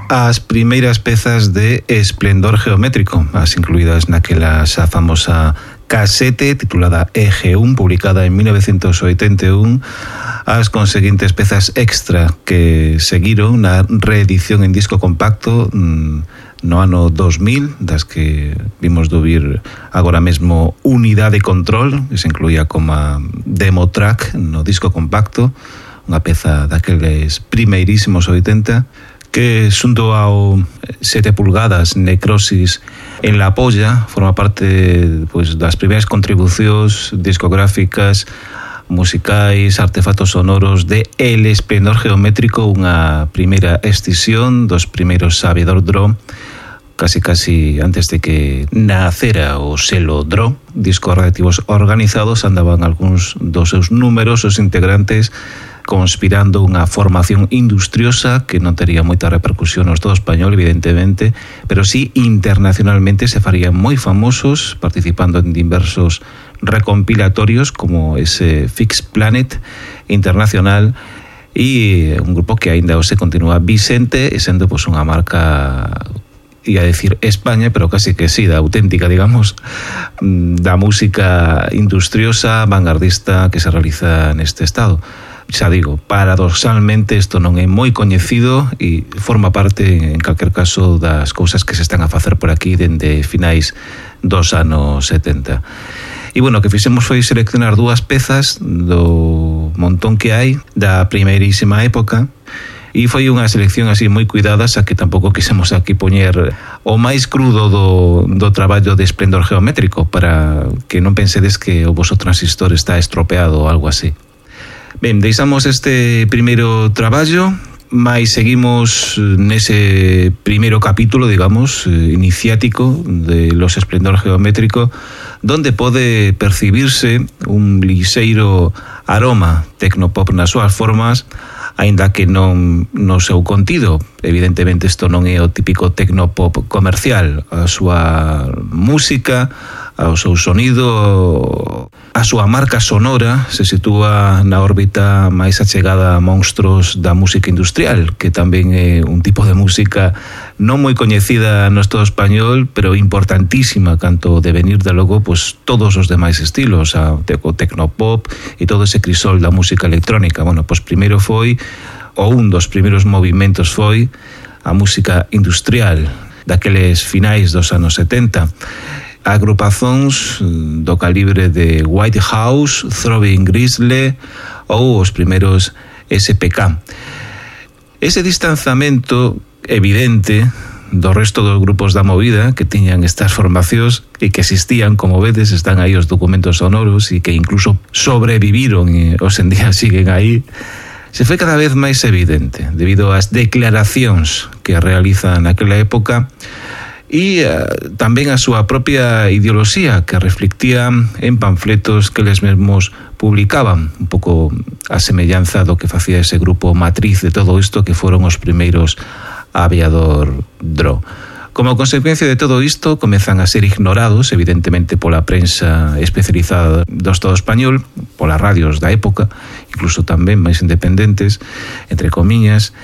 as primeiras pezas de Esplendor Geométrico, as incluídas naquela xa famosa casete titulada EG1, publicada en 1981, as conseguintes pezas extra que seguiron na reedición en disco compacto no ano 2000, das que vimos dubir agora mesmo Unidade Control, que se incluía como demo track no disco compacto, unha peza daqueles primeirísimos 80, que xunto ao 7 pulgadas Necrosis en la polla forma parte pues, das primeiras contribucións discográficas, musicais, artefactos sonoros de El Esplendor Geométrico, unha primeira escisión dos primeiros Aviador Draw, casi antes de que nacera o selo Draw. Discos relativos organizados, andaban algúns dos seus numerosos integrantes conspirando unha formación industriosa que non tería moita repercusión no Estado español, evidentemente, pero sí internacionalmente se farían moi famosos, participando en diversos recompilatorios como ese Fix Planet Internacional, e un grupo que aínda se continúa vicente e sendo pues, unha marca, ia decir España, pero casi que sí, da auténtica, digamos, da música industriosa, vanguardista que se realiza neste estado. Xa digo, paradoxalmente isto non é moi coñecido e forma parte, en calquer caso, das cousas que se están a facer por aquí dende finais dos anos 70. E, bueno, o que fixemos foi seleccionar dúas pezas do montón que hai da primeirísima época, e foi unha selección así moi cuidada, xa que tampouco quisemos aquí poñer o máis crudo do traballo de Esplendor Geométrico, para que non pensedes que o voso transistor está estropeado ou algo así. Ben, deixamos este primeiro traballo, mais seguimos nese primeiro capítulo, digamos, iniciático de Los Esplendor Geométrico, donde pode percibirse un lixeiro aroma tecnopop nas súas formas, aínda que non no seu contido. Evidentemente isto non é o típico tecnopop comercial. A súa música, o seu sonido, a súa marca sonora se sitúa na órbita máis achegada a monstruos da música industrial, que tamén é un tipo de música non moi coñecida no Estado español, pero importantísima canto de venir de logo pues, todos os demais estilos, o tecnopop e todo ese crisol da música electrónica. Bueno, pues primeiro foi, ou un dos primeiros movimentos foi a música industrial daqueles finais dos anos 70. Agrupazóns do calibre de White House, Throbbing Gristle ou os primeiros SPK. Ese distanzamento evidente do resto dos grupos da movida que tiñan estas formacións e que existían, como vedes, están aí os documentos sonoros e que incluso sobreviviron e hoxe en día siguen aí, se foi cada vez máis evidente debido ás declaracións que realizan naquela época e tamén a súa propia ideoloxía que reflectía en panfletos que eles mesmos publicaban, un pouco a semellanza do que facía ese grupo matriz de todo isto que foron os primeiros Aviador Draw. Como consecuencia de todo isto, comezan a ser ignorados, evidentemente, pola prensa especializada do Estado español, polas radios da época, incluso tamén máis independentes, entre comiñas,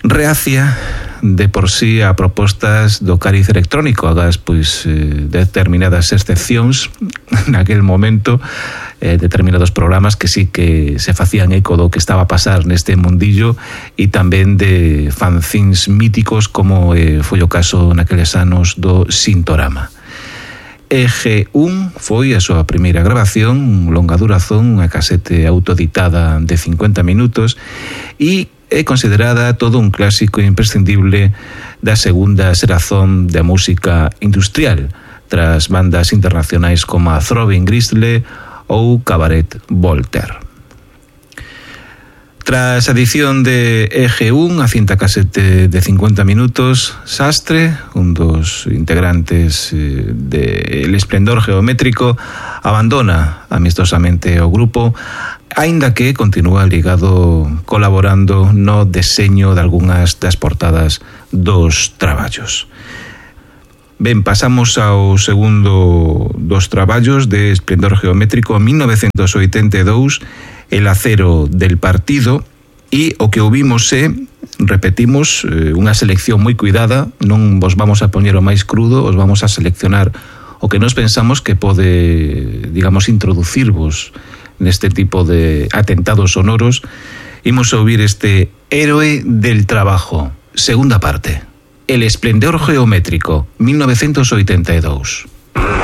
reacia de por sí a propostas do cariz electrónico, agás pois determinadas excepcións naquel momento, determinados programas que sí que se facían eco do que estaba a pasar neste mundillo e tamén de fanzines míticos como foi o caso naqueles anos do Sintorama. EG1 foi a súa primeira grabación, longa durazón, unha casete autoeditada de 50 minutos e é considerada todo un clásico imprescindible da segunda xeración da música industrial, tras bandas internacionais como a Throbbing Gristle ou Cabaret Voltaire. Tras a edición de EG1, a cinta casete de 50 minutos, Sastre, un dos integrantes de El Esplendor Geométrico, abandona amistosamente o grupo, aínda que continúa ligado colaborando no deseño de algunhas das portadas dos traballos. Ben, pasamos ao segundo dos traballos de Esplendor Geométrico, 1982, El acero del partido, E o que ouvimos repetimos, unha selección moi cuidada, non vos vamos a poñer o máis crudo, os vamos a seleccionar o que nos pensamos que pode, digamos, introducirvos neste tipo de atentados sonoros. Imos a ouvir este Héroe del Trabajo, segunda parte. El esplendor geométrico, 1982.